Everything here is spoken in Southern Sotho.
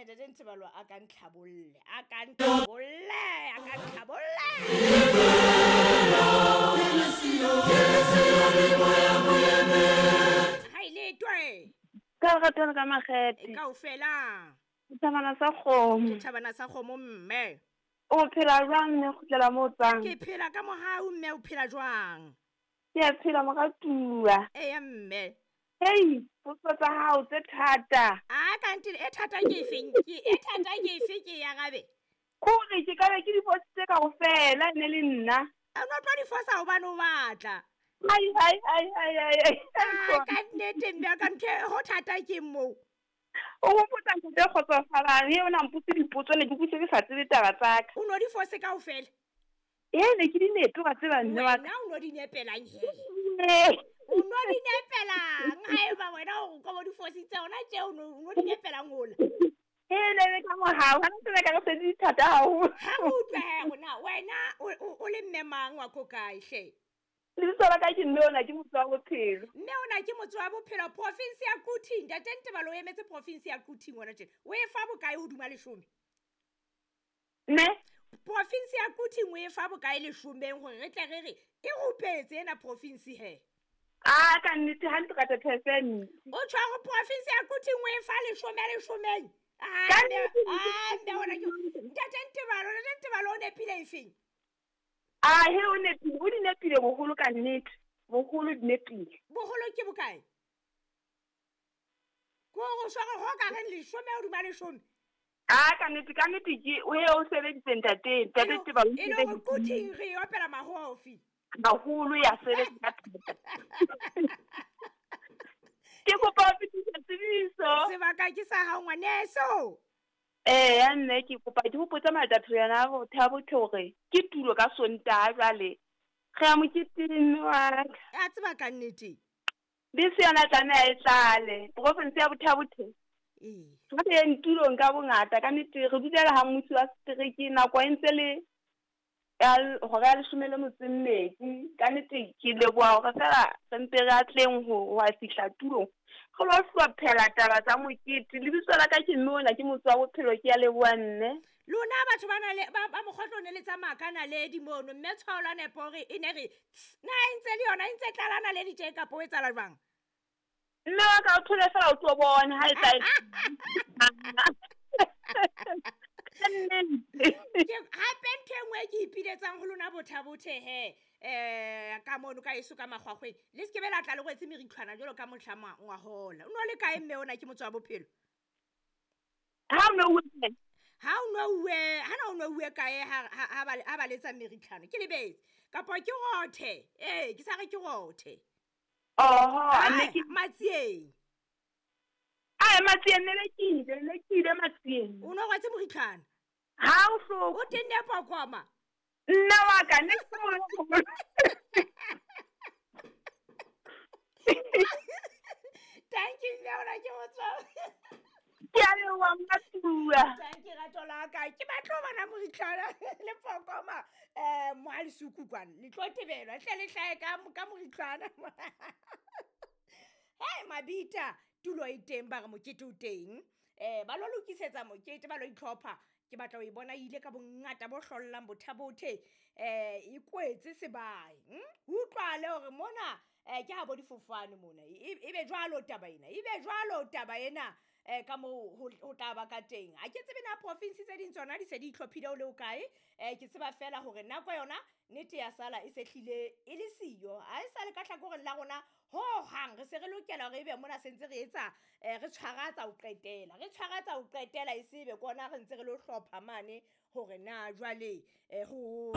Ntate Ntebalo a ka ntlhabolle, a ka ntlhabolle, a ka ntlhabolle. Ha ile twe. Ka lerato le ka makgethe. Kaofela. Thabana sa kgomo. Ke thabana sa kgomo mme. O phela jwang mme kgutlela moo tswang? Ke phela ka mohau mme, o phela jwang? Ke a phela moratuwa. Eya mme. Hei, potso tsa hao tse thata. A kante e thata ke efeng? Ke e thata ke efe ke ya rabe? Kore ke ka be ke di fositse kaofela ne le nna. A no tlo di fosa hobane o batla. Ai ai ai ai ai. A ka nnete mme ka ntho e ho thata ke moo. O hopotsa ntho tse kgotsofalang, e o na mpotse dipotso ne ke utlwe ke sa tsebe taba tsa ka. O no di fose kaofela? Ee, ne ke di nepe wa tseba mme wa ka. Wena o no di nepelang he? O no di nepelang? Haeba wena o ka bo di fositse hona tje o no di nepelang hola. Ee, ne le ka mohau, ha ntse ka re se di thata haholo. Ha o utlwe he rona wena o le mme mang wa ko kae hle? Lebitso la ka ke mme ona ke motse wa bophelo. Mme ona ke motse wa bophelo, province ya Quthing. Ntate Ntebalo o emetse province ya Quthing wena tjena. O e fa bokae hodima leshome? Ne? Province ya Quthing o e fa bokae leshomeng hore re tle re re e rupetse ena province he? A ka nnete 100%. O tjho hore province ya Quthing o e fa leshome leshomeng? Ka nnete. Mme ona ke Ntate Ntebalo, Ntate Ntebalo o nepile efeng? A he o nepile, o di nepile boholo ka nnete. Boholo di nepile. Boholo ke bokae? Ko go swara ho ka reng leshome hodima leshome? A ka nnete, ka nnete ke o he o sebeditse ntate, ntate Ntebalo o E le hore sebeditse. Quthing re e opela mahofi. Haholo ya sebetsa ka thata. Ke kopa ho fetisa tsebiso. Sebaka ke sa hao ngwaneso. Ya nne ke kopa ke hopotse matatho yana bo Thabo hore ke tulo ka Sontaha jwale. Re ya moketeng mme wa ka. A tseba ka nnete. Bese yona tlameha e tlale. Province ya Botha-Bothe. Ee. Re yeng tulong ka bongata ka nnete re dulela ha mmusi wa setereke nako e ntse le ya hora ya leshome le metso e mmedi. Ka nnete ke leboha hore feela re mpe re atleng ho wa fihla tulong. Re lo hlophela taba tsa mokete. Lebitso la ka ke mme ona ke motse wa bophelo, ke a leboha nne. Lona batho ba na le ba mokgotlo ne le tsamaya ka naledi mono, mme tshwao la nepo hore e ne re tss, na e ntse le yona e ntse tlala naledi tje kapa o etsahala jwang? Mme wa ka o thole feela o tlo bona ha e tla e. Ke hape ntho e nngwe e ke ipiletsang ho lona Botha-Bothe he, ka mono ka eso ka makgwakgweng. Le se ke be la tla le rwetse meritlhwana jwalo ka mohla ngwahola. O no le kae mme ona ke motse wa bophelo? Ha o no uwe. Ha o no uwe, ha na o no uwe kae ha ba letsa meritlhwana? Ke lebetse. Kapa ke rothe. Ee, ke sa re ke rothe. Oho, a ne ke Matsieng. Ai, Matsieng ne le ke ile, ne ke ile Matsieng. O no rwetse moritlhwana? Ha o hloka. O tenne pokoma. Nna wa ka ne ke mo. Thank you, mme ona ke motswa. Ke a leboha Mmatua. Thank you, rato la ka. Ke batla ho bona moritlhwana le pokoma, mo ha lesuku kwana. Le tlo tebelwa, hle le hlahe ka moritlhwana. Hey, Mabita, tulo e teng ba re mokete o teng. Ba lo lokisetsa mokete, ba lo itlhopha. Ke batla ho e bona e ile ka bongata bo hlollang Botha-Bothe. E kwetse sebae. Utlwale hore mona ke ha bo difofane mona. E be jwalo taba ena. E be jwalo taba ena. Ka moo ho tla ba ka teng. Ha ke tsebe na province tse ding tsona di se di itlhophile ho le ho kae. Ke tseba fela hore nako yona nnete ya sala e se hlile e le siyo. Ha e sa le ka hlakoreng la rona ho hang re se re lokela hore ebe mona se ntse re etsa, re tshwaratsa ho qetela. Re tshwaratsa ho qetela e se be kona re ntse re lo hlopha mane hore na jwale ho